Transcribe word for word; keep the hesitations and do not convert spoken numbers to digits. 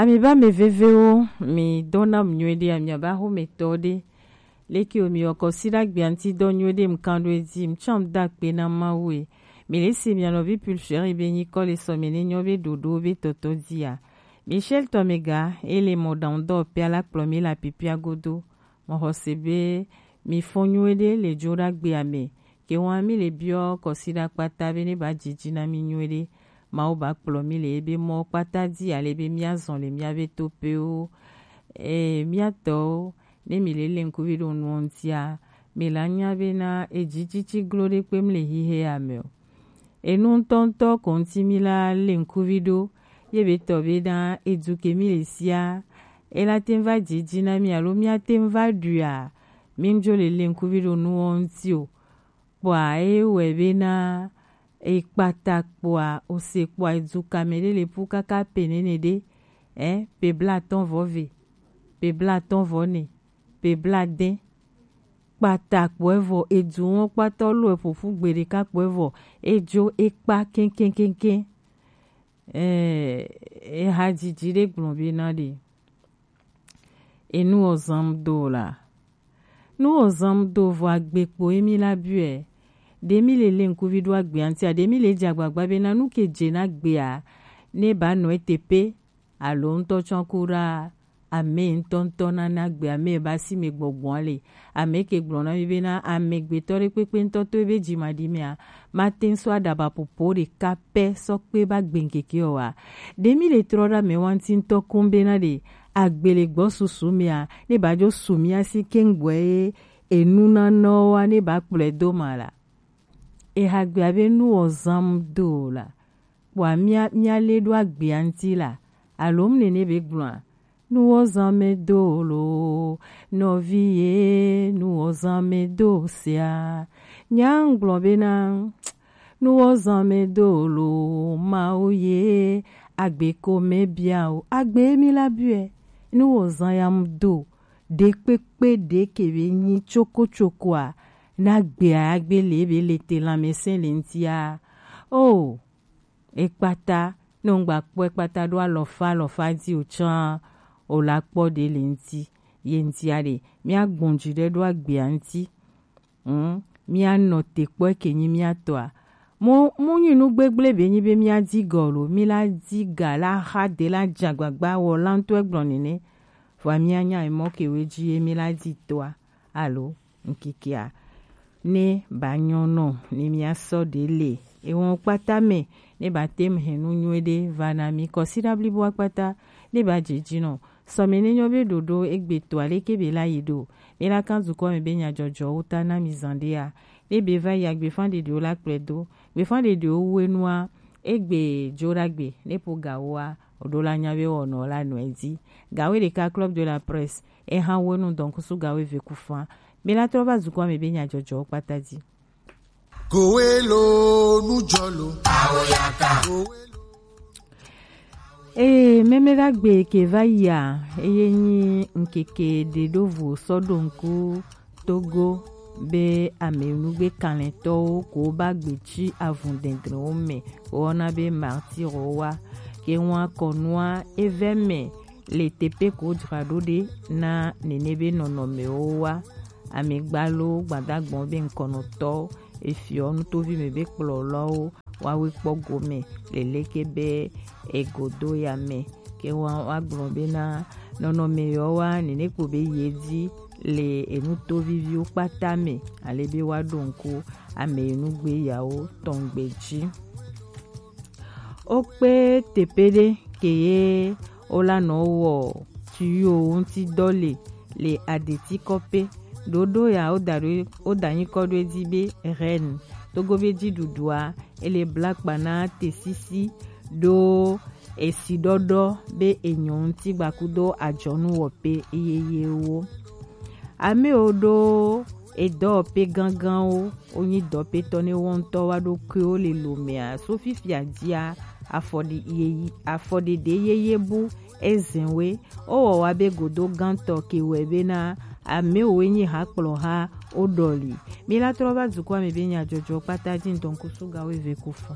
Ami ba mi vevewo, mi dona mi nyueɖe, ami aba ho mi tɔ ɖe. Leki o mi oko si ɖagbe anti dɔ nyueɖe mi kan ɖo edzi, mi tsam da kpe na Mawu e. Mi le si mi anɔvi Pulcheri be nyi kɔ le sɔ mi ne nyɔ be ɖoɖo be tɔtɔ dzi a. Michel Tomega, ele mɔ dan dɔ pia la kplɔ mi la pipia godo. Mɔ xɔse be mi fɔ nyueɖe le jo ɖagbe ame. Ke wa mi le biɔ kɔsi ɖa kpata be ne ba dzidzi na mi nyueɖe. Mawu ba kplɔ mi le ebe mɔ kpata dzi ale be mi azɔn le mi ave to pewo. E, mi atɔwo, ne mi le le ŋkuvi ɖo nuɔ ŋutia, mi la nya be na edzi tsitsi glo ɖe kpe mi le hihe ame o. Enu ŋutɔŋutɔ ko ŋuti mi la le ŋkuvi ɖo, ye be tɔ be na edu ke mi le sia, e la te ŋu va dzidzi na mi alo mi ate ŋu va ɖui a, mi ŋu dzo le le ŋkuvi ɖo nuwo ŋuti o. Kpɔa e wɛ be na e kpata kpɔa, o se kpɔa edu kame ɖe le pu kaka pe nene ɖe, ɛ, pe blatɔn vɔ ve, pe blatɔn vɔ ne, pe bladɛn. Kpata kpɔɛ vɔ, edu wɔn kpata lo eƒoƒu gbe ɖeka kpɔɛ vɔ, edzo ekpa kɛnkɛnkɛnkɛn. Ɛɛ, ehadzidzi ɖe gblɔ be na ɖe. Enu ozam do la. Nu ozam do vɔ agbe kpo emi la biɛ. Ɖe mi le le ŋkuvi ɖo agbe antia, ɖe mi le dze agbagba be na nu ke dze na gbea, ne ba nɔ ete pe. Alo ŋutɔ tsɔ ku ɖa ame ŋutɔŋutɔ nana gbe ame ba si me gbɔgbɔa le. Ame ke gblɔ na mi be na ame gbetɔ ɖe kpekpe ŋutɔ to ebe dzi ma ɖi mea, ma te ŋu sɔ aɖaba popo ɖeka pɛ sɔ kpe ba gbe ŋkeke o wa. Ɖe mi le trɔ ɖa me wa ŋuti ŋutɔ koŋ be na ɖe agbe le gbɔ susu mea, ne ba dzo su mia si keŋ gbɔe ye enu na nɔ wa ne ba kplɔe do ma la. Ehagbea be nu ozam do la. Kpɔa mia, mia le ɖo agbea ŋuti la. Alo mu nene be gblɔa. Nu ozam me do lo, nɔvi ye, nu ozam me do sia. Nya ŋgblɔ be na, nu ozam me do lo, Mawu ye, agbe ko me bia o, agbe mi la biɛ. Nu ozam ya mu do, ɖe kpekpe ɖe ke be nyi tsoko tsokoa, na gbea agbe le be le te lanmɛsɛn le ŋutia. O, ekpata, ne ŋgba kpɔ ekpata ɖo alɔfa alɔfa dzi o tsã, o la kpɔ ɖe le ŋuti, ye ŋutia ɖe, mia gbɔn dzi ɖe ɖo agbea ŋuti. Hm, mia nɔ te kpɔ eke nyi mia tɔa. Mo, mo nyi nu gbegble be nyi be mia di gɔ lo, mi la di ga la xa de la dza gbagba wɔ la ŋutɔ gblɔ nene. Vɔa mia nya emɔ ke we dzi ye mi la di tɔa. Alo ŋkikea ne ba nyɔ nɔ ne mia sɔ ɖe le ewɔn kpata me ne ba te mu hɛn nu nyuie ɖe va na mi kɔsiɖa blibo akpata ne ba dze dzi nɔ sɔme ne nyɔ be ɖoɖo egbe to aleke be la yi ɖo ne la kan dukɔ me be nyadzɔdzɔwo ta na mi zan ɖea ne be va yi agbefan ɖeɖewo la kplɔe do gbefan ɖeɖewo wu enua egbe dzo ɖagbe ne po gawoa oɖo la nya be wɔnɔ la nɔe dzi gawo ɖeka club de la presse Eha wenu dɔnkusu gawo eve ku fan. Mi la trɔ va dukɔ me be nyadzɔdzɔwo kpata dzi. Kowelo nujɔlo. Awoyaka. Ee, mɛmɛɖagbe ke va yia, eye nyi ŋkeke ɖe ɖo vo sɔ ɖo ŋku Togo be amenugbe kalẽtɔwo ko ba gbe ci avun dɛndɛnwo me, wɔna be martiro wa. Ke ŋua kɔnua evɛ me le teƒe ko dzra ɖo ɖe na nene be nɔnɔmewo wa. Amegbalo gbadagbɔn be ŋkɔnɔtɔ efiɔ nutovi me be kplɔlɔwo wawe kpɔ gome leleke be egodo ya me. Ke wa, wa gblɔ be na nɔnɔme yɔ wa nene kpo be ye di le enutoviviwo kpata me ale be wa ɖo ŋku ame enugbe yawo tɔngbe dzi. Wokpe teƒe ɖe ke ye wolanɔ wɔ tuyuwo ŋuti dɔ le le aɖeti kɔƒe. Ɖoɖo ya woda ɖo woda nyikɔ ɖo edzi be reine. Togo be dziɖuɖua ele bla kpa na tesisi ɖo esiɖɔɖɔ be enyɔ ŋuti gbakudo adzɔnuwɔƒe yeyewo. Amewo ɖo edɔwɔƒe gãgãwo wonyi dɔpetɔ ne wo ŋutɔ wa ɖokuiwo le lomea so fifia dzia afɔɖi yeyi afɔɖeɖe yeye bu ezɛnwe wowɔ wa be godo gãtɔ ke wɛ bena amewo nyi hakplɔha woɖɔli. Mi la trɔ va dukɔa me be nyadzɔdzɔ kpata dzi ŋdɔnkusu gawo eve ku fɔ.